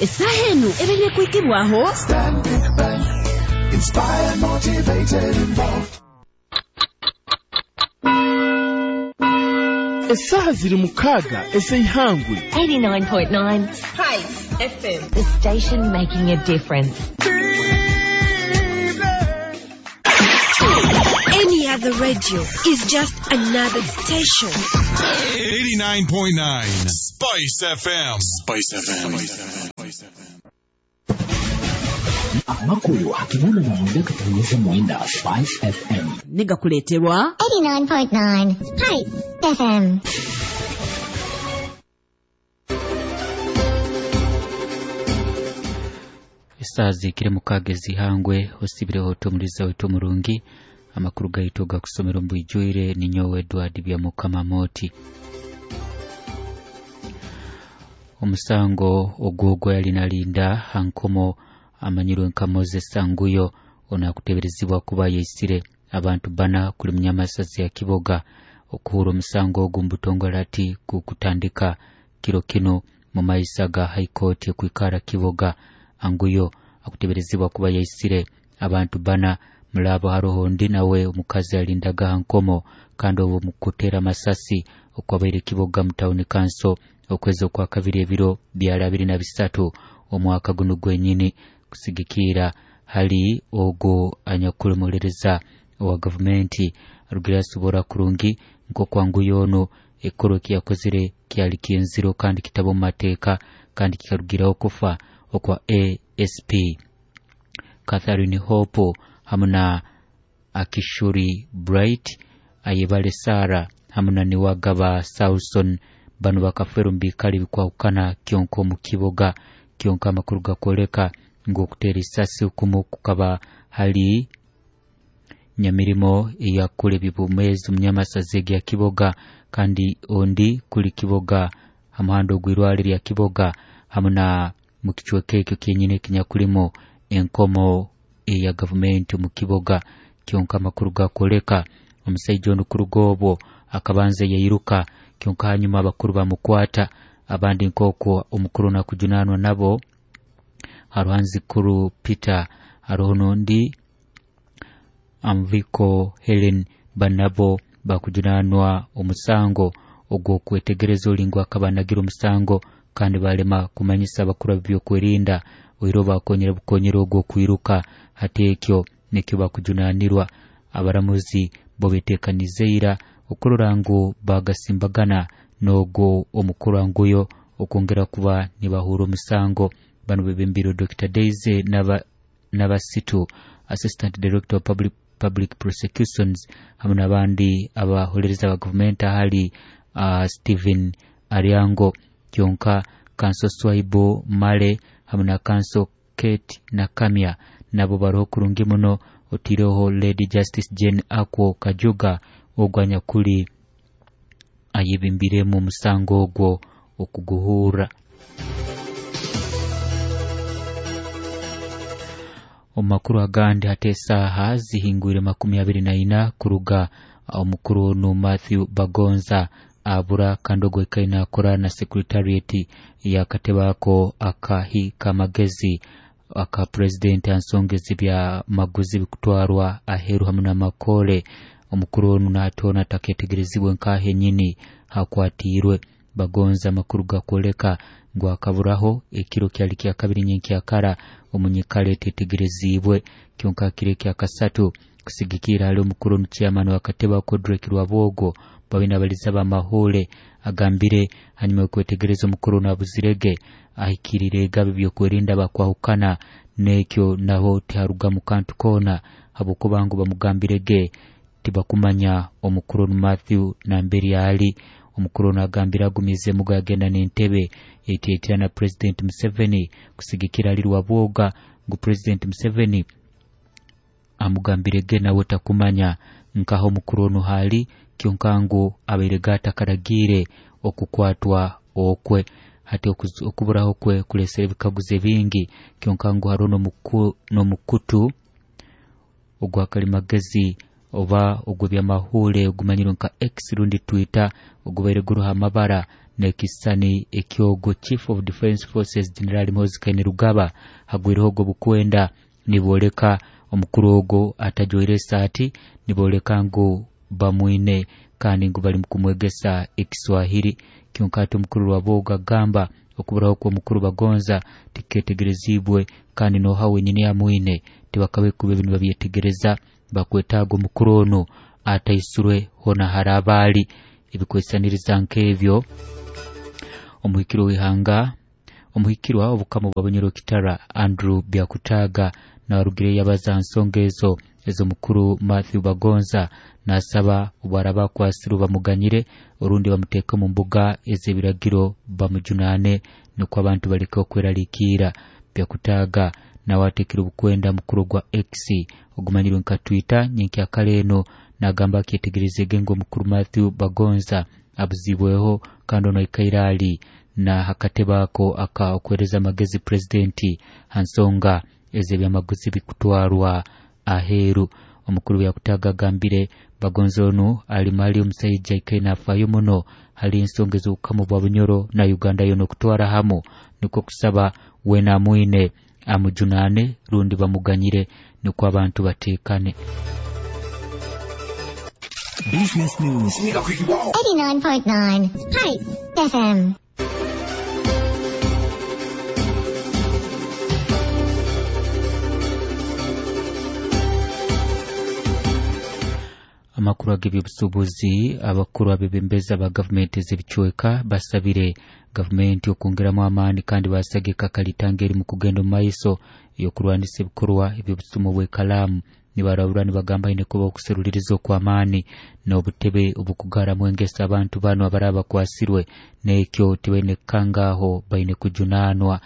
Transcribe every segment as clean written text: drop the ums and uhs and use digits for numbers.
Essaaha enu ebaire kwikibwaho Stanbic Bank. Inspired, motivated, involved. Essaaha ziri 6 ez'eihangwe. 89.9 Spice FM. The station making a difference. Any other radio is just another station. 89.9 Spice FM. Spice FM. Amakuru akibula na mwenda katanyeza mwenda Spice FM. Negakuleterwa 89.9 Spice FM. Esaaha zikire 6 ezihangwe osibireho otomuliza wetu omurungi amakuru gaitu gakusomera omu bwijwire ninyowe Edward Byamukama Moti. Omusango ogwogwo yali nalinda hankomo amanyirwe nka Moses Sanguyo onakuteberezibwa kuba yaisire abantu bana kuli munyamasazi ya Kiboga okuhura omusango ogu mbutongole ati kukutandika kiro kino mu maisa ga High Court kwikara Kiboga. Anguyo akuteberezibwa kuba yaisire abantu bana mulabo haroho ndi nawe omukazi alindaga hankomo kandi obwo mukutera masasi okwabaire Kiboga mu town council okwezi okwa kabiri ebiro bya 23 omwaka guno gwenyini kusigikira hali ogo anyakulemulereza owa gavumenti arugira asobora kurungi nk'okwanguyo ono ekoro kiyakozere kyali kyenziro kandi kitabo mu mateeka kandi kikarugiraho kufa okwa ASP Catherine Hope hamwe na Akishuri Bright Ayebale Sara hamwe na Niwagaba Saulson bano bakafera omu biikaro bikwahukana kyonka omu Kiboga. Kyonka amakuru gakwoleka ngu okutera isasi okumu kukaba hali nyamirimo eyakula ebibumezi omunyamasazi ya Kiboga kandi ondi kuli Kiboga hamuhanda ogw'irwale lya Kiboga hamwe na mu kicweka ekyo kyenyini ekinyakulimo enkomo eya gavumenti omu Kiboga. Kyonka amakuru gakwoleka omusaija onu kuruga obwo akabanza yairuka kyonka hanyuma abakuru bamukwata abandi nk'okwo omukuru nakujunanwa nabo haruhanzikuru Peter haroho n'ondi Amviko Helen banabo bakujunanwa omusango ogw'okwetegereza olingo akaba anagira omusango kandi balema kumanyisa abakuru b'ebyokwerinda oiro bakonyera bukonyera ogwo kwiruka hati ekyo nikyo bakujunanirwa. Abaramuzi bo betekanizeira okurora ngu bagasimbagana n'ogwo omukuru anguyo okwongera kuba nibahura omusango. Bano bebembirwe Dr. Daisy Nabasitu Assistant Director of Public Prosecutions hamwe n'abandi abaholereza ba gavumenti ahali Stephen Ariango kyonka Kanso Swaibu Male hamwe na Kanso Kate Nakamya nabo baroho kurungi muno otireho Lady Justice Jane Akwo Kajuga ogwo anyakuli ayebimbiremu omusango ogwo okuguhura. Omu makuru agandi hati esaaha zihingwire 24 kuruga omukuru onu Matthew Bagonza abura kandi ogwo ekaine akora na secretariat yakatebako akahi kamagezi aka president ansongezi bya maguzi bikutwarwa aheru hamwe n'amakole. Omukuru onu natona taketegerezibwe nkahe nyini hakwatirwe. Bagonza amakuru gakwoleka ngu akaburaho ekiro kyali kya kabiri nyenkyakara omunyikale etetegerezibwe kyonka kiro kya kasatu kusigikira hali omukuru onu chairman wa kateba Kodrek Rwabwogo babina baliza bamahule agambire hanyuma y'okwetegereza omukuru onu abuzirege ahikirire gabi byokwerinda bakwahukana n'ekyo naho tiharuga mu kantu koona habwokuba ngu bamugambirege tibakumanya omukuru onu Matthew namberi ali. Omukuru ono agambira agumize mugo yagenda n'entebe etietera na President Museveni kusigikira ali Rwabwoga ngu President Museveni amugambirege nawe takumanya nkaho omukuru ono hali kyonka ngu abaire gatakaragire okukwatwa okwe hati okuburaho kwe kulesera ebikaguzo bingi kyonka ngu hariho n'omukutu ogwa kalimagezi oba ogw'ebyamahule ogumanyirwe nka X rundi Twitter ogubaire guruha amabara N'ekisani ekyogo Chief of Defence Forces General Muhoozi Kainerugaba hagwireho ogwo bukwenda nibooleka omukuru ogo atajwaire esaati, nibooleka ngu bamwine kandi ngu bali kumwegesa Ekiswahili. Kyonka ati omukuru Rwabogo agamba okuburaho kw'omukuru Bagonza tiketegerezibwe kandi noha wenyini amwine tibakabe kuba ebintu babyetegereza. Bakwetaaga omukuru onu ataisurwe hona harabaali ebikwesaniriza nk'ebyo. Omuhikiro w'ihanga omuhikirwa obukama bwa Bunyoro Kitara Andrew Byakutaga narugire yabaza nsonga ezo ez'omukuru Matthew Bagonza, nasaba obwaraba akwasirwe bamuganyire orundi bamuteeke mu mbuga ez'ebiragiro bamujunane nukwo abantu baleke okweraliikirra. Byakutaga nawe ateekire obukwenda mukuru gwa X ogumanyirwe nka Twitter nyenkyakara eno, nagamba akyetegerezege ngu omukuru Matthew Bagonza abuzibweho kandi ono aikaire ali na hakatebe ako aka okwereza amagezi pulezidenti ha nsonga ez'ebyamaguzi bikutwarwa aheeru. Omukuru Byakutaga agambire Bagonza onu ali mali omusaija aikaire nafaayo muno hali ensonga ez'obukama bwa Bunyoro na Uganda yoona okutwara hamu, nukwo kusaba weena amwine amujunane rundi bamuganyire nukwo abantu bateekane. Business News 89.9 Spice FM. Amakuru ag'ebyobusuubuzi, abakuru abebembezi aba gavumenti ez'ebicweka basabire gavumenti okwongeramu amaani kandi basagika kalitanga eri mu kugenda omu maiso ey'okurwanisa ebikorwa eby'obusumu bw'ekalaamu. Nibarabura nibagamba aine kuba okuseruliriza okw'amaani n'obutebe obukugaramu engeso abantu banu abaraba bakwasirwe, n'ekyo tibaine kukangaaho, baine kujunaanwa.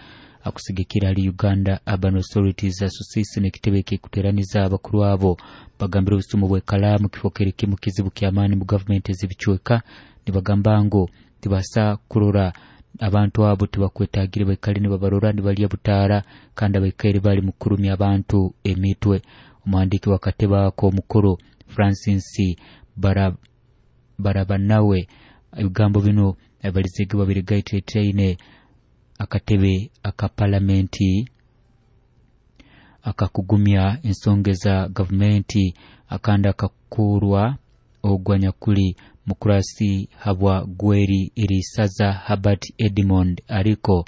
Akusigikira hali Uganda Urban Authorities Association ekitebe ekikuteraniza abakuru abo bagambira obusumu bw'ekalaamu kifo kiri kimu kizibu ky'amaani mu gavumenti ez'ebicweka. Nibagamba ngu tibasa kurora abantu abo tibakwetagire baikale nibabarora nibalya butaara kandi abaikaire bali mu kurumya abantu emitwe. Omuhandiiki w'akatebe ako omukuru Francis Barabanawe ebigambo bino abalizege babirigaiteetaine akatebe aka palamenti akakugumya ensonga za gavumenti akandi akakurwa ogwa nyakuli mukurasi habwa gweri erisaza Herbert Edmond ariko